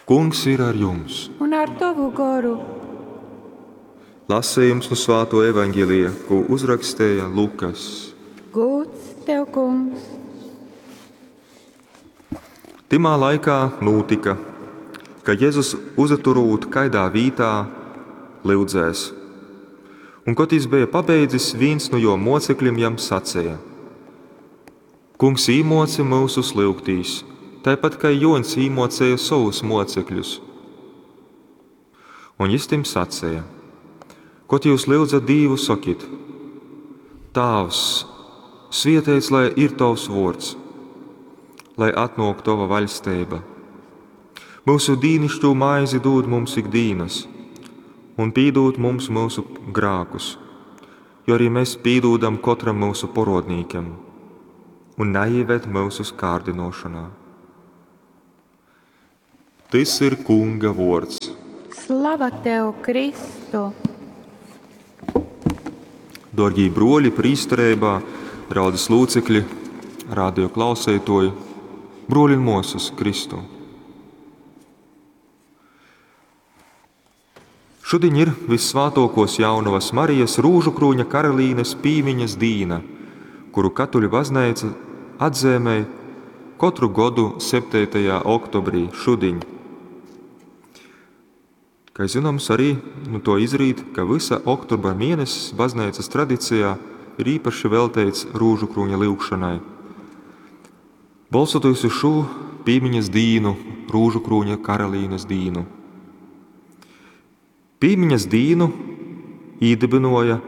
Kungs ir ar jums! Un ar tovu goru. Lasījums nu Svāto evaņģēlija, ko uzrakstīja Lukas. Gūds tev, kungs! Timā laikā nūtika, ka Jezus uzaturūt kaidā vītā, lyudzēs. Un, kod jis beja pabeidzis, vīns nu jo mocekļim jam saceja: Kungs īmoci myusus lyugtīs, taipat kai Jōņs īmocēja sovus mocekļus. Un jis tim saceja: Kod jūs lyudzat Dīvu, sokit: Tāvs, svieteits lai ir tovs vōrds, lai atnōk tova vaļsteiba. Myusu dīnišķū maizi dūd mums ik dīnas, un pīdūd mums myusu grākus, jo arī mēs pīdūdam kotram myusu porodnīkam, un naieved myusus kārdinošanā. Tys ir Kunga vōrds. Slava tev, Kristu! Dōrgī broļi prīstereibā, draudzes locekļi, radio klauseitoji, broļi un mosas Kristu. Šudiņ ir Vissvātōkōs Jaunavas Marijas Rūžukrūņa Karalīnes pīmiņas dīna, kuru katoļu bazneica atzīmē kotru godu 7. oktobrī šudiņ. Kā zināms, arī nu to izrīt, ka vysa oktobra mēnesis bazneicas tradicijā ir īpaši velteits Rūžukrūņa lyugšanai. Bolstoties uz šo pīmiņas dīnu, Rūžukrūņa Karalīnes dīnu. Pīmiņas dīnu īdibinoja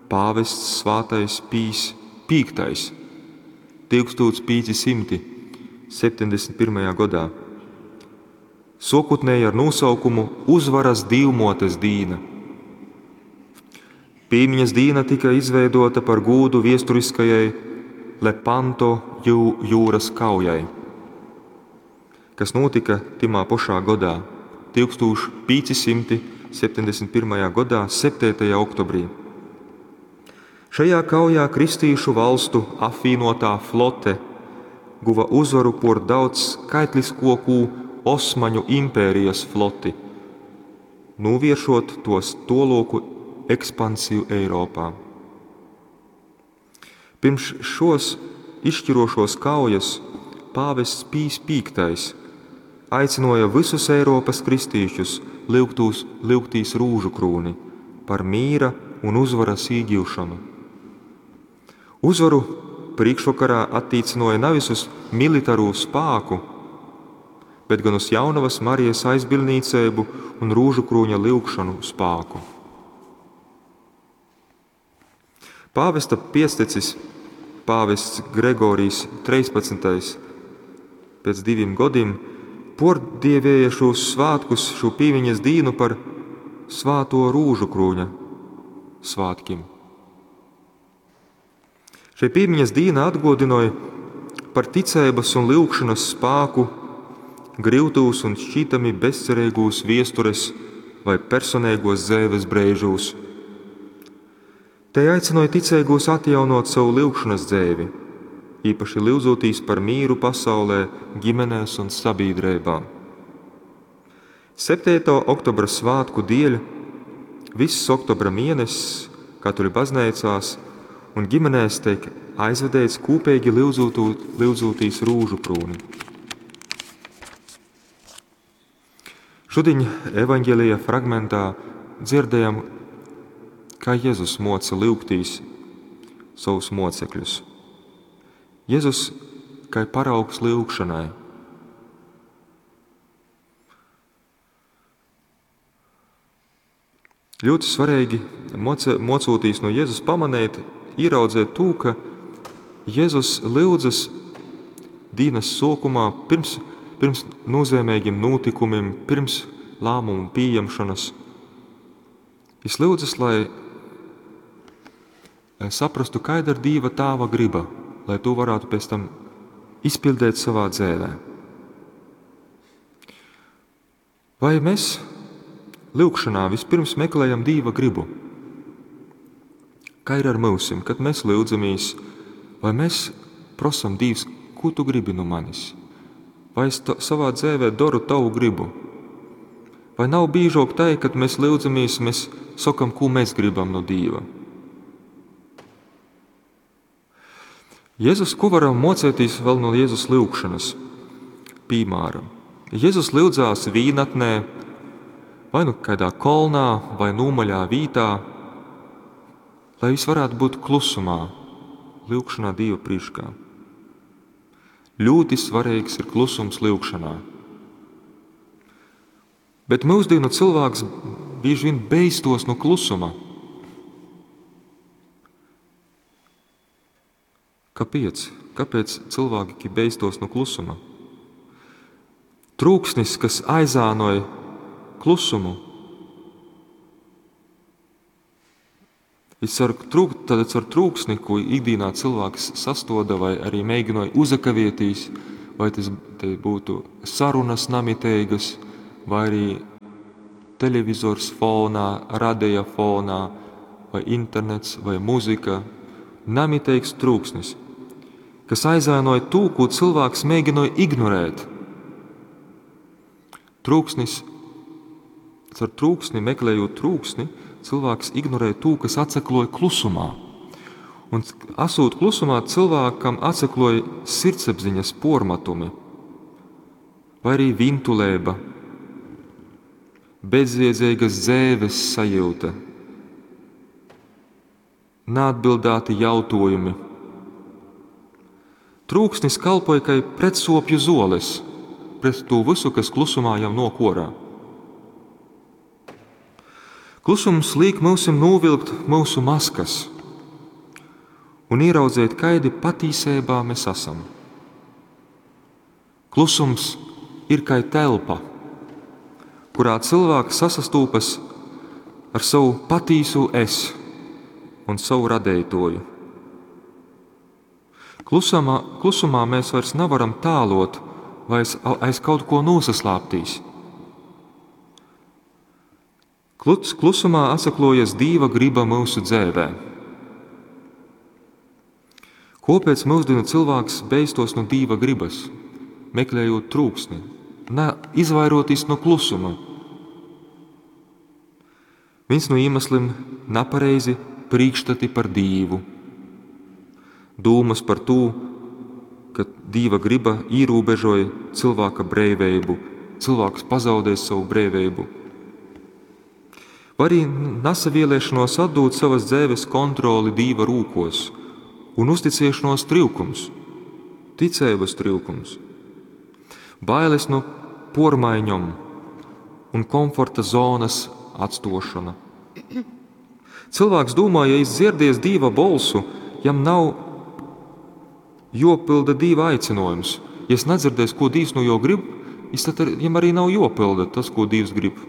pāvests Svātais Pijs V 1571. Godā. Sokutnēji ar nosaukumu Uzvaras Dīvmotes dīna. Pīmiņas dīna tika izveidota par gūdu viesturiskajai Lepanto jūras kaujai, kas notika timā pašā godā, 1571. Gadā, 7. oktobrī. Šajā kaujā kristīšu valstu apvienotā flote guva uzvaru por daudz skaitliskokū Osmaņu impērijas floti, novēršot tos toloku ekspansiju Eiropā. Pirms šos izšķirošos kaujas pāvests Pijs V aicināja visus Eiropas kristīšus lyugtīs rūžukrūni par mīra un uzvaras īgūšanu. Uzvaru priekšvakarā attiecināja nevis uz militāro spāku, bet gan uz Jaunavas Marijas aizbildniecību un rūžukrūņa lyugšanu spāku. Pāvesta piectecis, pāvests Gregorijs 13. Pēc diviem gadiem pordievēja šos svētkus, šo pīmiņas dīnu par Svāto Rūžukrūņa svētkiem. Šī pīmiņas dīna atgodināja par ticības un lyugšanas spāku grīvtūs un šķītami bezcerīgūs viestures vai personīgos dzēves brēžūs. Te aicināja ticīgos atjaunot savu lyugšanas dzēvi, īpaši lyudzotīs par mīru pasaulē, ģimenēs un sabiedrībā. 7. Oktobra svētku dieļ viss oktobra mēnesis katoļu baznīcās un ģimenēs tiek aizvedēts kūpīgi lyudzūtīs rūžu krūni. Šodien evaņģēlija fragmentā dzirdējam, kā Jēzus moca lyugtīs savus mocekļus. Jēzus kā paraugs lyugšanai. Ļoti svarīgi mocūtīs no Jēzus pamanīt, ieraudzēt to, ka Jēzus lyudzas dienas sākumā pirms nozīmīgiem notikumiem, pirms lēmumu pieņemšanas. Viņš lyudzas, lai saprastu, kāda ir Dieva Tēva griba, lai to varētu pēc tam izpildīt savā dzīvē. Vai mēs lyugšanā vispirms meklējam Dieva gribu? Kā ir ar mūsim, kad mēs lyudzamies, vai mēs prosam Dievs, ko tu gribi no manis? Vai es savā dzēvē doru Tavu gribu? Vai nav bīžok tai, kad mēs lyudzamies, mēs sokam, ko mēs gribam no Dīva? Jēzus, ko varam mocētīs vēl no Jēzus lyugšanas? Piemēram, Jēzus lyudzās vīnatnē, vai nu kādā kolnā, vai nūmaļā vītā, lai viņš varētu būt klusumā, lyugšanā Dīva priekšā. Ļoti svarīgs ir klusums lyugšanā. Bet mūsdienu cilvēks bieži vien beistos no klusuma. Kāpēc? Kāpēc cilvēki beistos no klusuma? Trūksnis, kas aizānoja klusumu, ir tad caur trūksni, ko ikdienā cilvēks sastoda vai arī mēģināja uzakavietīs, vai tas te būtu sarunas namiteigas, vai arī televizors fonā, radeja fonā, vai internets, vai muzika. Namiteigs trūksnis, kas aizēnoja to, ko cilvēks mēģināja ignorēt. Trūksnis, caur trūksni, meklējot trūksni, cilvēks ignorē to, kas atsakloja klusumā. Un esot klusumā, cilvēkam atsakloja sirdsapziņas pormatumi, vai arī vintulēba, bezjēdzīgas dzēves sajūta, neatbildēti jautājumi. Trūksnis kalpoja kā pretsopju zoles pret to visu, kas klusumā jau nokorā. Klusums liek mūsim novilkt mūsu maskas un ieraudzīt, kaidi patīsībā mēs esam. Klusums ir kā telpa, kurā cilvēks sasastūpas ar savu patīsu es un savu radētoju. Klusumā mēs vairs nevaram tālot vai aiz kaut ko nosaslāptīs. Klusumā atsaklojas Dīva griba mūsu dzēvē. Kopēc mūsdienu cilvēks beistos no Dīva gribas, meklējot trūksni, ne, izvairoties no klusuma? Viens no iemesliem nepareizi priekšstati par Dīvu. Dūmas par to, ka Dīva griba ierobežoja cilvēka brīvību, cilvēks pazaudēs savu brīvību. Vai arī nesavieliešanos atdot savas dzīves kontroli Dīva rūkos un uzticēšanos trūkums, ticības trūkums, bailes no pormaiņom un komforta zonas atstošana. Cilvēks domā, ja izdzirdies Dīva bolsu, jam nav jopilda Dīva aicinājums. Ja es nedzirdēs, ko Dīvs no jo grib, es tad jam arī nav jopilda tas, ko Dīvs grib.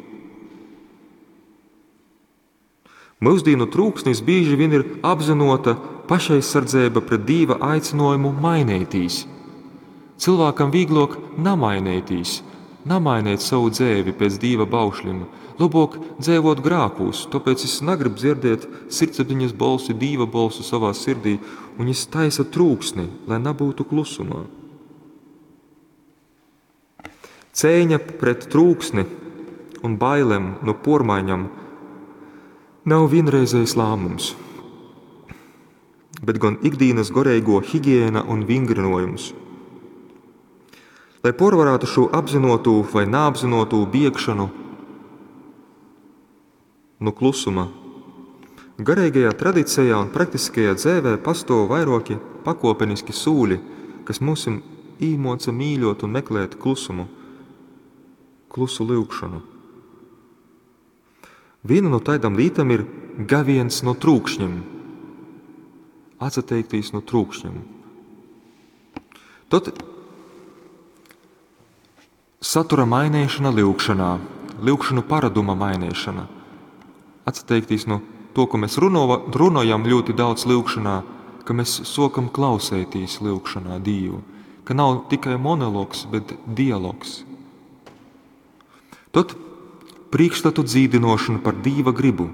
Mūsdienu trūksnis bieži vien ir apzinota pašaizsardzība pret Dīva aicinājumu mainītīs. Cilvēkam vieglāk namainītīs, namainīt savu dzēvi pēc Dīva baušļiem, labāk dzēvot grākūs, tāpēc es negribu dzirdēt sirdsapziņas bolsi, Dīva bolsu savā sirdī, un es taisa trūksni, lai nebūtu klusumā. Cēņa pret trūksni un bailēm no pormaiņam nav vienreizējs lēmums, bet gan ikdienas garīgo higiēna un vingrinojums. Lai porvarētu šo apzinotu vai neapzinotu biegšanu no klusuma, garīgajā tradicijā un praktiskajā dzēvē pastāv vairoki pakopeniski sūļi, kas mūsim īmoca mīļot un meklēt klusumu, klusu lyugšanu. Viena no tādām lietām ir gaviens no trūkšņiem, atsateiktīs no trūkšņiem. Tad satura mainīšana lyugšanā, lyugšanu paraduma mainīšana, atsteiktīs no to, ko mēs runājam ļoti daudz lyugšanā, ka mēs sokam klausētīs lyugšanā Dievu, ka nav tikai monologs, bet dialogs. Tad priekšstatu dzīdinošana par Dieva gribu.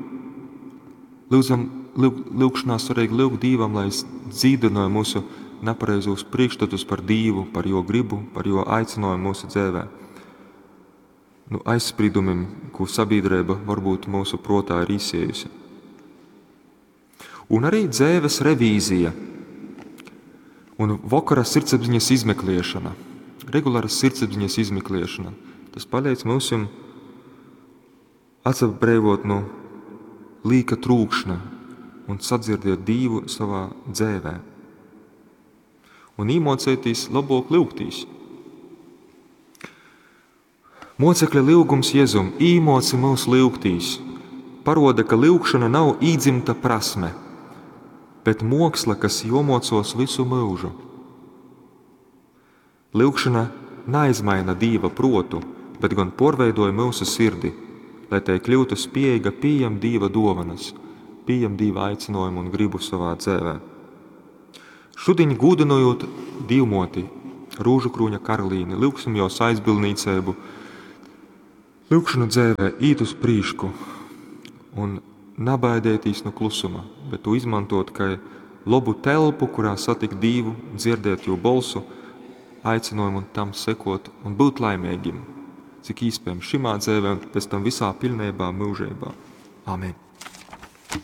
Lūdzam, lūgšanā svarīgi lūgt Dievam, lai dzīdinoja mūsu napareizūs priekšstatus par Dīvu, par Juo gribu, par Juo aicinājumu mūsu dzēvē. Nu aizsprīdumim, ko sabiedrība varbūt mūsu protā ir īsējusi. Un arī dzēves revīzija un vakara sirdsapziņas izmeklēšana, regulāra sirdsapziņas izmeklēšana. Tas palīdz mums atsabrēvot no līka trūkšņa un sadzirdēt Dīvu savā dzēvē. Un īmocētīs labok lyugtīs. Mocekļa lyugums Jezum īmoci mūs lyugtīs, paroda, ka lyugšana nav īdzimta prasme, bet moksla, kas jomocos visu mūžu. Lyugšana neizmaina Dīva protu, bet gan porveidoja mūsu sirdi, lai tai kļūtu spējīga pieņemt Dīva dovanas, pieņemt Dīva aicinājumu un gribu savā dzēvē. Šodien gūdinojot Dīvmoti, Rūžu krūņa karalīni, lyugsim jos aizbildnīcību, lyugšanu dzēvē īt uz prīšku un nabaidētīs no klusuma, bet to izmantot kā labu telpu, kurā satikt Dīvu, dzirdēt jo bolsu, aicinājumu un tam sekot un būt laimīgiem, cik iespējams šimā dzēvē un pēc tam visā pilnībā mūžībā. Amen.